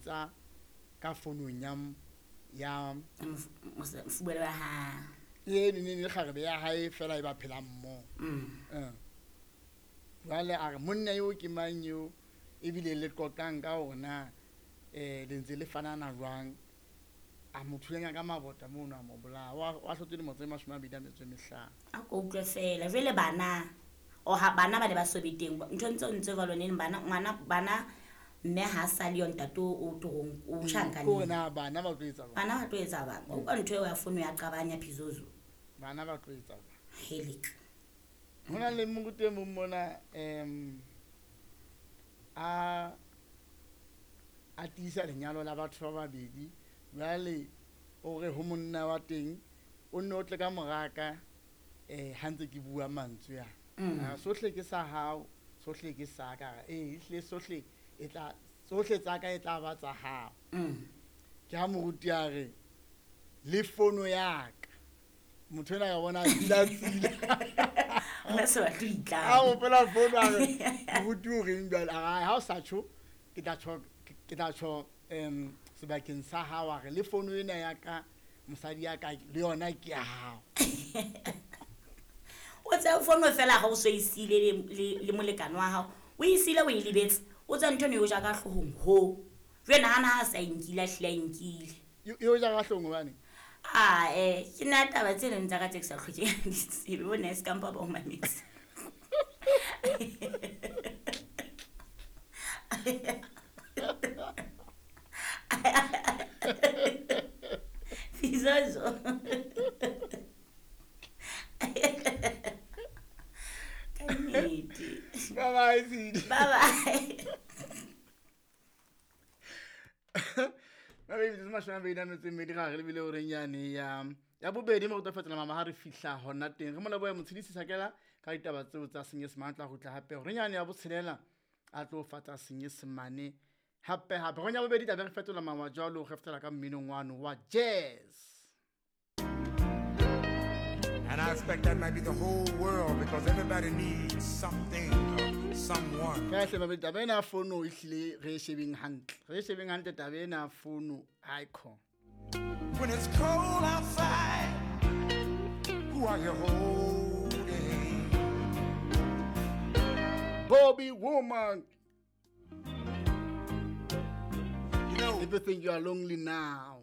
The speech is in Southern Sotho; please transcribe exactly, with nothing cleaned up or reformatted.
molaetsa ka founung ya ya mofubelo wa hae e ne ne kgarebe ya hae fela e ba phelang mmoho. Mm. Jwale a re monna eo ke mang eo ebile le qoqang ka hore na eh le ntse le fanana jwang a mo thulanya ka mabota mono a mo bolaya wa hlotse dilemo tse mashome a mabedi a metso e mehlano. A ko utlwe fela jwale bana o ha bana ba ne ba sobe teng ntho ntse ntse ba lone bana ngwana bana mme ha sa le ntate o torong o tjhankaneng ko na bana ba tlo etsa bana ba tlo etsa bana o ka ntho eo ya fono ya qabanya Phizozo bana ba tlo etsa bana helik hona le moruti e mong mona em a a tiisa lenyalo la batho ba babedi jwale o re ho monna wa teng o nne o tle ka moraka eh ha ntse ke bua mantswe a mm. Sohle ke sa hao sohle ke sa ka eh ehle sohle e tla sohle tsa ka e tla ba tsa hao. Mm. Ke ha moruti a re le fono ya ka motho ena ya bona tsila tsila nna se ba tlo itla a o pela fono a re moruti o reng jwale a ha o sa tjho ke tla tjho ke tla tjho em sebakeng sa hao a re le fono ena ya ka mosadi ya ka le yona ke ya hao. O tsa fono fela ha o so isile le le molekane wa hao o isile o e lebetse o tsa ntho ne o ja ka hloohong ho jwale nahana ha sa inkile a hlile a inkile yo ja ka hloohong hobane ah eh ke na taba tse leng tsa ka tse ke sa hlokeng di tsebe bo ne se kampa ba o mametse. Phizozo Kannete. Bye bye Sidi. Bye bye. Ba be metsotso mashome a mabedi a metso e mmedi gare le bile horeng yane ya ya bobedi mo go tla fetola mama ha re fihla hona teng re mo leboha Motshidisi Sakela ka ditaba tseo tsa Senyesemane tla kgutla hape horeng yane ya botshelela a tlo fatsa Senyesemane hape hape horeng ya bobedi tla be re fetola mama jwalo re fetela ka mminong wano wa jazz. And I expect that might be the whole world because everybody needs something or someone. Kahle babe taba ena fono e hlile re shebeng hantle. Re shebeng hantle taba ena fono icon. When it's cold outside, who are you holding? Bobby Womack. You know, if you think you are lonely now.